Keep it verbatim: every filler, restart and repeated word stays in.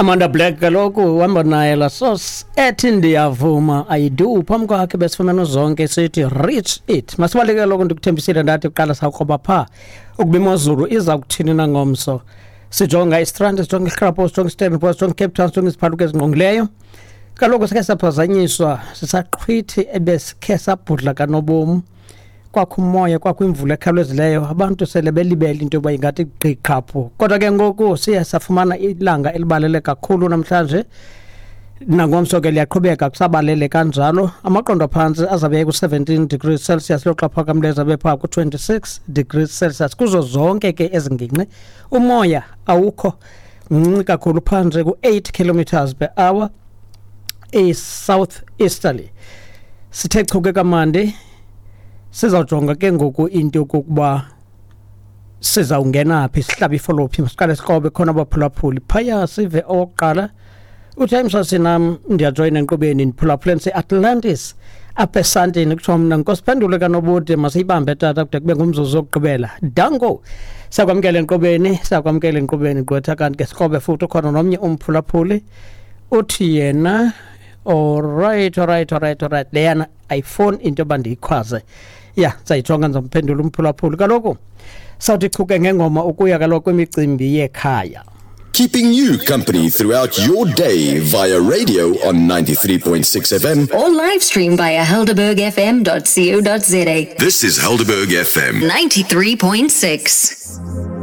Amanda Black kaloku uhamba naye la sauce ethi ndiyavuma I do. Phambi kwakhe besifumene zonke sithi reach it. Masibaleke kaloku, ndikuthembisile ndathi kuqala sawukroba phaa ukuba imozulu iza kuthini na ngomso. Sijonga iStrand, sijonga iSkrapo, sijonga iStellenbosch, sijonga iCape Town, sijonga iziphaluka ezingqongileyo. Kaloku sikhe saphazanyiswa sisaqhwithi ebesikhe sabhudla kanobomi, kwakho umoya, kwakho imvula ekhawulezileyo, abantu sele belibele into yoba ingathi gqi qhaphu. Kodwa ke ngoku siye safumana ilanga elibalele kakhulu namhlanje, nangomso ke liyaqhubeka kusabalele kanjalo. Amaqondo aphantsi azabe ku-seventeen degrees Celsius, loxa phakamileyo azabe phaa ku-twenty-six degrees Celsius. Kuzo zonke ke ezi ngingqi umoya awukho mncinci kakhulu, phantsi ku-eight kilometers per hour, i-south easterly. Sithe chuke kamandi, sizawujonga ke ngoku into yokokuba sizawungena phi, sihlabe ifolophi. Masiqale sikrobe khona abaphulaphuli phaya, sive owokuqala. Uthi msasinam, ndiyajoyina enkqubeni, ndiphulaphule ndise-Atlantis apha esantini. Kuthiwa mna nkosiphendule kanobude, masiyibambe tata kude kube ngumzuzu wokugqibela. Danko, siyakwamkela enkqubeni, siyakwamkela enkqubeni gqwetha. Kanti ke sikrobe futhi, ukhona nomnye umphulaphuli, uthi yena alright, alright, alright, alright, leyana ayifoni into yoba ndiyikhwaze. Ya, ndizayijonga, ndizomphendula umphulaphuli. Kaloku sawuthi chuke ngengoma ukuya kaloku kwimicimbi yekhaya. Keeping you company throughout your day via radio on ninety-three point six F M. Or live stream via helderberg F M dot co dot za. This is Helderberg F M. ninety-three point six.